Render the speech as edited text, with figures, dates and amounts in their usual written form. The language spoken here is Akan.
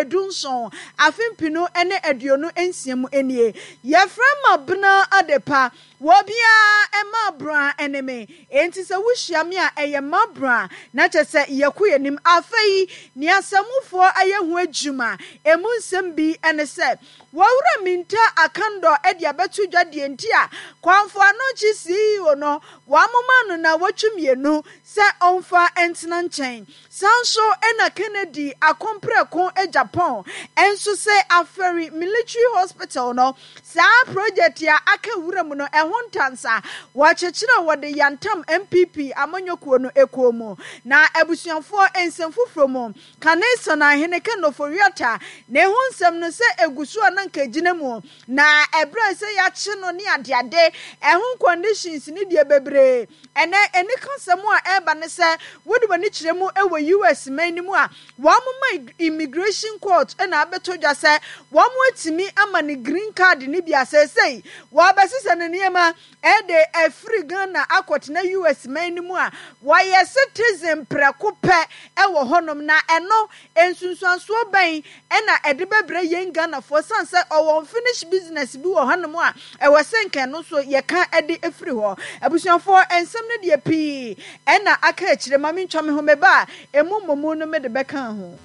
17, afe 2026 mu nie. Yɛfrɛ Mabena Adepa. Obiara mma abran ne me. Enti sɛ wohyia me a, ɛyɛ m'abran, na kyerɛ sɛ yɛkɔ yɛn anim. Afei, nea asamufoɔ ayɛ ho adwuma, emu nsɛm bi ne sɛ, Wɔwura Minta Akandor de abɛto dwa deɛ nti a Kwamfo Anokye CEO no wɔamoma no nnawɔtwe mmienu sɛ ɔmfa ntena nkyɛn. Saa nso na Kennedy Akompreko Agyapong nso sɛ Aferi Military Hospital no saa project a aka wuram no ɛho ntansa wɔkyekyere wɔde yantam NPP amanyɔkuo no kuo mu. Na abusuafoɔ nsɛm foforɔ mu, Kane Sanahene Ken Ofori-Atta ne ho nsɛm no sɛ ɛgu so a na nka ɛgyina mu na ɛberɛ sɛ yɛakye no ne adeade ɛho conditions ne deɛ bebree. Ɛnnɛ, anikasɛm a ɛreba ne sɛ wode w'ani kyerɛ mu wɔ US man no mu a, wɔn ma immigration court na abɛtɔ dwa sɛ wɔatumi ama no green card no bi a seesei wɔabɛsesa ne nneɛma de afiri Ghana akɔtena US man no mu a wɔyɛ citizen prɛko pɛ wɔ hɔnom na ɛno nsunsuansoɔ bɛn na ɛde bɛbrɛ yɛn Ghanafoɔ ɛsiane sɛ ɔwɔ unfinished business bi wɔ hanom a ɛwɔ sɛ nka ɛno nso yɛka de firi hɔ. Abusuafoɔ, nsɛm no deɛ pii na aka akyire, ma mentwa me ho meba a, ɛmu mmɔmu no mede bɛka ho.